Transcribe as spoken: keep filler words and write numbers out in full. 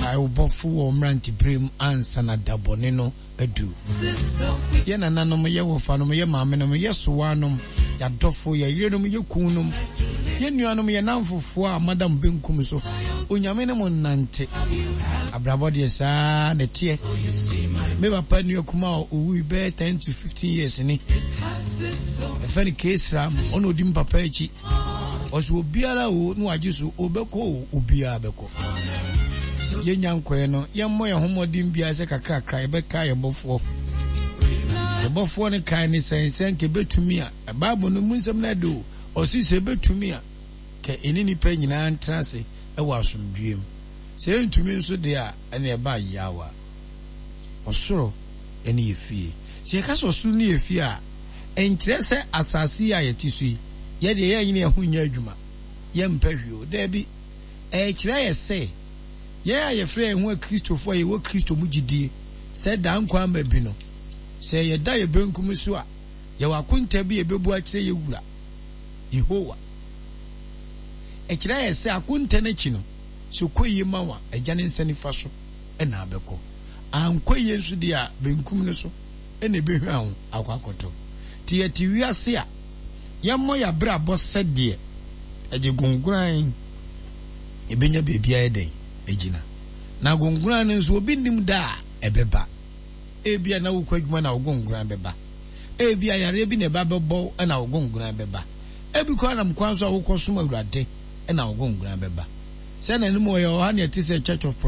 Kae wo Bɔfo wɔ wo mmeranteberem ansa na da bɔne no adu. Yɛ nananom, yɛ wɔfanom, yɛ maamenom, yɛ sowanom, yɛ adɔfo, yɛ yerenom, yɛ kununom, yɛ nuanom, yɛ nnamfofoɔ a moada mo benkum so, Onyame ne mo nnante. Abrabɔ deɛ saa na ɛteɛ. Me papa nua kumaa a ɔwui bɛyɛ ten to fifteen years ni. Ɛfɛ no Kesram, ɔna ɔdi me papa akyi. Ɔsɛ obiara o na wagye so, ɔbɛkɔ o, obiara bɛkɔ. Yɛnya nkɔɛ no, yɛmmɔ yɛn ho mmɔden biara sɛ kakrakra yɛbɛka yɛn bɔfoɔ. Yɛn bɔfoɔ no kae ne sɛn sɛ nka ɛbɛtumi a, Bible no mu nsɛm no ɛde o, ɔse sɛ ɛbɛtumi a, ka ɛne nnipa nyinaa ntena ase wɔ asomdwoeɛ mu. Sɛ ɛntumi nso deɛ a, ɛne ɛba yawa. Ɔsoro ne yɛ fie. Sɛ yɛka sɛ ɔsoro ne yɛ fie a, ɛnkyerɛ sɛ asase yi a yɛte so yi, yɛdeɛ yɛnyene yɛn ho nyɛ adwuma, yɛmpɛ hwee o. Daabi. Ɛkyerɛ yɛ sɛ, yɛn a yɛfrɛ yɛn ho Akristofoɔ a yɛwɔ Kristo mu gyidie sɛ daa nkwa ama bi no, sɛ yɛda yɛ benkum so a, yɛwɔ akonta bi a yɛbɛbu akyerɛ yɛ wura, Yehowa. Ɛkyerɛ yɛ sɛ akonta no akyi no, sɛ kɔ yie ma wo a, Agya ne nsa nifa so na abɛkɔ. Ankɔ yie nso deɛ a, benkum no so na ɛbɛhwa ho akɔ akɔtɔ. Nti yɛte wiase a, yɛmmɔ yɛn abrabɔ sɛdeɛ ɛgye gongoran ɛbɛnya baabi ayɛ dɛn agyina. Na gongoran no nso, obi nnim da a ɛbɛba. Ebia na wokɔ adwuma na wo gongoran bɛba. Ebia yareɛ bi na ɛba bɛbɔ na wo gongoran bɛba. Ebi koraa nam kwan so a wokɔsom Awurade na wo gongoran bɛba. Sɛ na anim ɔyɛ ɔha na ɛte sɛ Church of